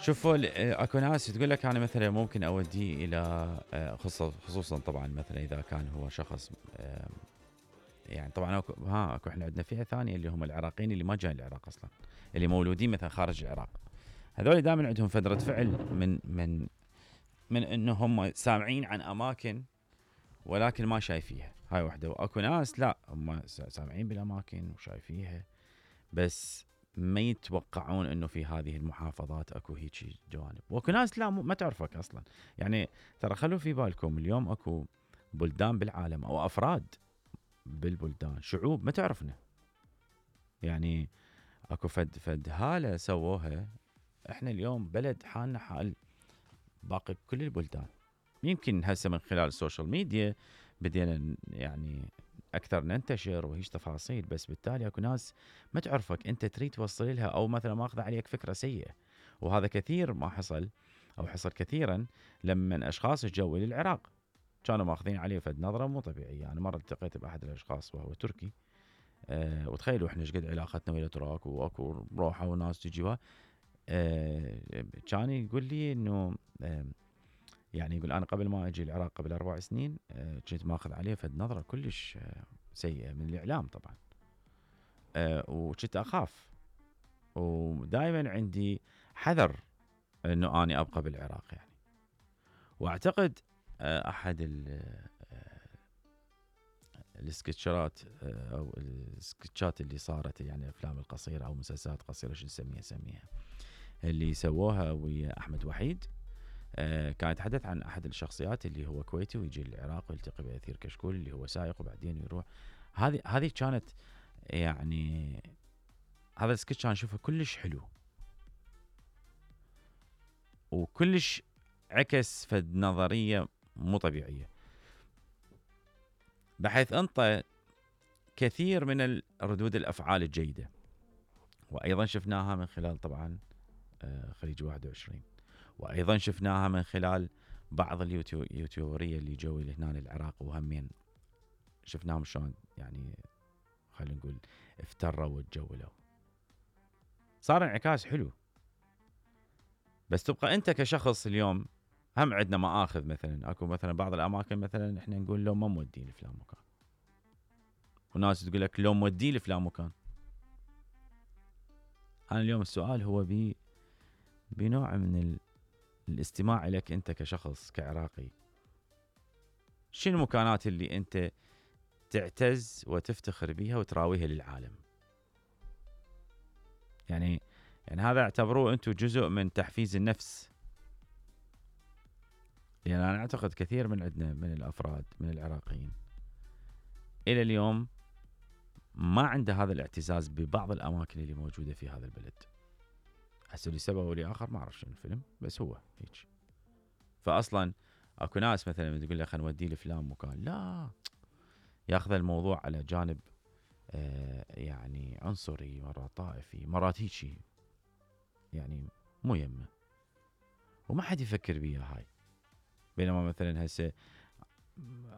شوفوا اكو ناس تقول لك انا مثلا ممكن اوديه الى خصوصا طبعا مثلا اذا كان هو شخص يعني طبعا اكو احنا عندنا فئه ثانيه اللي هم العراقيين اللي ما جايين العراق اصلا، اللي مولودين مثلا خارج العراق. هذول دائما عندهم فتره فعل من انه هم سامعين عن اماكن ولكن ما شايفيها. هاي وحده. واكو ناس لا هم سامعين بالاماكن وشايفيها بس ما يتوقعون انه في هذه المحافظات اكو هيك جوانب. واكو ناس لا ما تعرفك اصلا. يعني ترى خلوا في بالكم اليوم اكو بلدان بالعالم او افراد بالبلدان شعوب ما تعرفنا. يعني اكو فد هاله سووها. احنا اليوم بلد حالنا حال باقي كل البلدان. يمكن هسه من خلال السوشيال ميديا بدينا يعني اكثر ننتشر وهيش تفاصيل، بس بالتالي اكو ناس ما تعرفك انت تريد توصل لها او مثلا ماخذ عليك فكره سيئه. وهذا كثير ما حصل او حصل كثيرا لما اشخاص اجوا للعراق كانوا ماخذين عليه فد نظره مو طبيعيه. انا مره التقيت باحد الاشخاص وهو تركي. وتخيلوا احنا ايش قد علاقتنا ويا الاتراك واكو روحه وناس تجي كان يقول لي انه يعني يقول انا قبل ما اجي العراق قبل 4 سنين كنت ماخذ عليه فد نظره كلش سيئه من الاعلام طبعا. وكنت اخاف ودائما عندي حذر انه اني ابقى بالعراق يعني. واعتقد احد السكتشات او السكتشات اللي صارت يعني افلام القصيره او مسلسلات قصيره شو نسميها اللي سووها ويا احمد وحيد. كان يتحدث عن احد الشخصيات اللي هو كويتي ويجي للعراق ويلتقي باثير كشكول اللي هو سائق وبعدين يروح. هذه كانت يعني هذا السكتش كان اشوفه كلش حلو وكلش عكس فد نظريه مو طبيعيه، بحيث انطى كثير من ردود الافعال الجيده. وايضا شفناها من خلال طبعا خليج 21، وايضا شفناها من خلال بعض اليوتيوبريه اللي جو لهنا للعراق وهمين شفناهم شلون يعني خلينا نقول افتروا وتجولوا. صار انعكاس حلو. بس تبقى انت كشخص اليوم هم عندنا مآخذ مثلا اكو مثلا بعض الاماكن مثلا احنا نقول لو ما مودين لفلان مكان، وناس تقول لك لو مودين لفلان مكان. انا اليوم السؤال هو بنوع من الاستماع لك انت كشخص كعراقي. شنو المكانات اللي انت تعتز وتفتخر بيها وتراويها للعالم؟ يعني هذا اعتبروه انتم جزء من تحفيز النفس. يعني انا اعتقد كثير من عندنا من الافراد من العراقيين الى اليوم ما عنده هذا الاعتزاز ببعض الاماكن اللي موجوده في هذا البلد. هسه لسبب او لاخر ما اعرف شنو الفيلم بس هو هيك. فاصلا اكو ناس مثلا تقول له خلينا نوديه لفلان مكان لا ياخذ الموضوع على جانب يعني عنصري مرات طائفي مرات هيجي يعني مو يمه وما حد يفكر بيها هاي. بينما مثلا هسه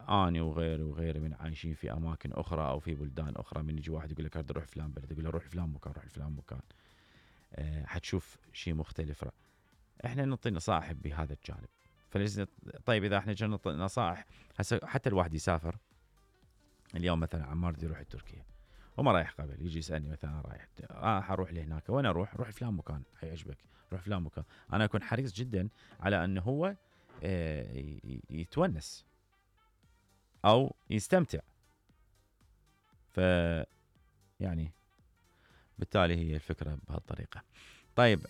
اني وغيري من عايشين في اماكن اخرى او في بلدان اخرى، من يجي واحد يقول لك اريد اروح فلان بلد يقول له روح فلان مكان روح فلان مكان حتشوف شيء مختلف. احنا نعطي نصائح بهذا الجانب. فليس طيب اذا احنا جينا نعطي نصائح هسه حتى الواحد يسافر اليوم مثلا عمار بدي يروح تركيا وما رايح قبل يجي يسالني مثلا رايح حروح لهناك وين اروح فلان مكان حيعجبك روح فلان مكان. انا اكون حريص جدا على انه هو يتونس او يستمتع. ف يعني بالتالي هي الفكره بهالطريقه. طيب